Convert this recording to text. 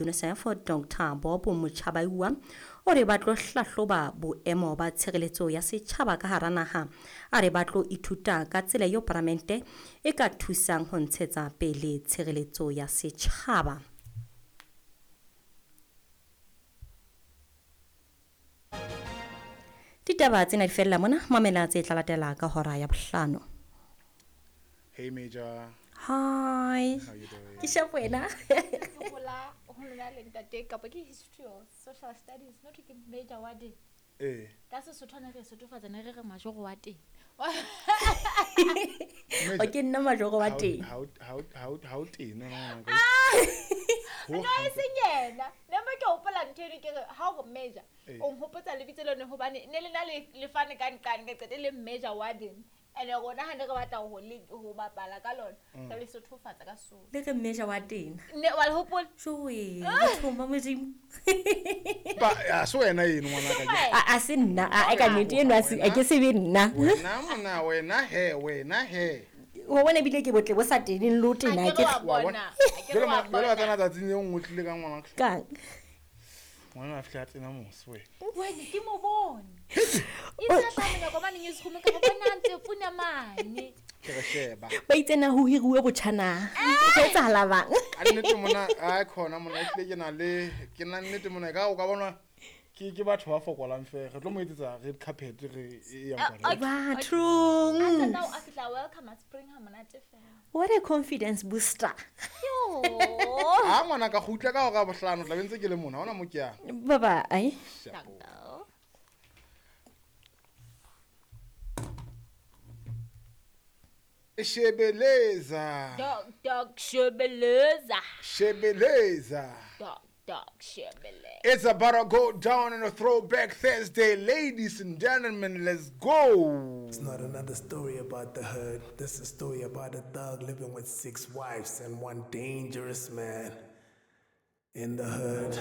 UNICEF Dr Bob Muchabaiwa o re ba tlo hlahloba boemo ba tshireletso ya setjhaba ka hara naha. A re ba tlo ithuta ka tsela eo paramente e ka thusang ho ntshetsa pele tshireletso ya setjhaba. Ditaba tsena di fella mona, mamela tse tla latela ka hora ya bohlano. Hey Major. Hi. How you doing? Ke sharp wena. Hola, ho lona le ntate kapa ke history or social studies, not ke major wa teng. Eh. Ka Sesotho ne re sotofatsa ne re re majoro wa teng. O ke nna majoro wa teng. How tena ngwana. No e seng yena. Ne mo ke hopola ntho eno ke re ha o re major, o nhopotsa lebitso leno hobane ne le na le lefane ka nqane ka qete le major wa teng. Ene rona ha ne re batla ho le ho bapala ka lona, re le sothofatsa ka Sesotho. Le re major wa teng. Ne wa le hopola? Joe, bathong ba Modimo. Ba a se wena eno ngwana ka. A se nna, a ka nnete eno a se a ke se be nna. Wena mona wena he, wena he. Wa bona ebile ke botle bo sa teneng le ho tena Ha ke ke re wa bona. Ha ke re Jwale wa jwale wa bona. tsena tsatsing le nngwe o tlile ka ngwana. Kang. Ngwana a fihla a tsena mose wena. Wena ke mo bone. E sa tla monyako mane newsroom ka go bona ntse puna mane. Ke re sheba. Ba itse na ho hiruwe botjha na. Ho etsahala bang? Ka nnete mona a khona mona ehlile ke na le ke na nnete mona ka o ka bona ke batho ba fokolang fela. Re tlo mo etsetsa red carpet re e yang kwa. Bathong. A qeta o a fihla welcome a spring ha monate fela. What a confidence booster. Yo. Ha ngwana ka kgutla ka hora ya bohlano tla be ntse ke le mona ha hona mo ke yang. Bye bye. Shapo. Shebeleza. Dog dog shebeleza. Shebeleza. Dog dog shebeleza. It's about to go down on a Throwback Thursday. Ladies and gentlemen, let's go. It's not another story about the hood. This is a story about a thug living with 6 wives and 1 dangerous man in the hood.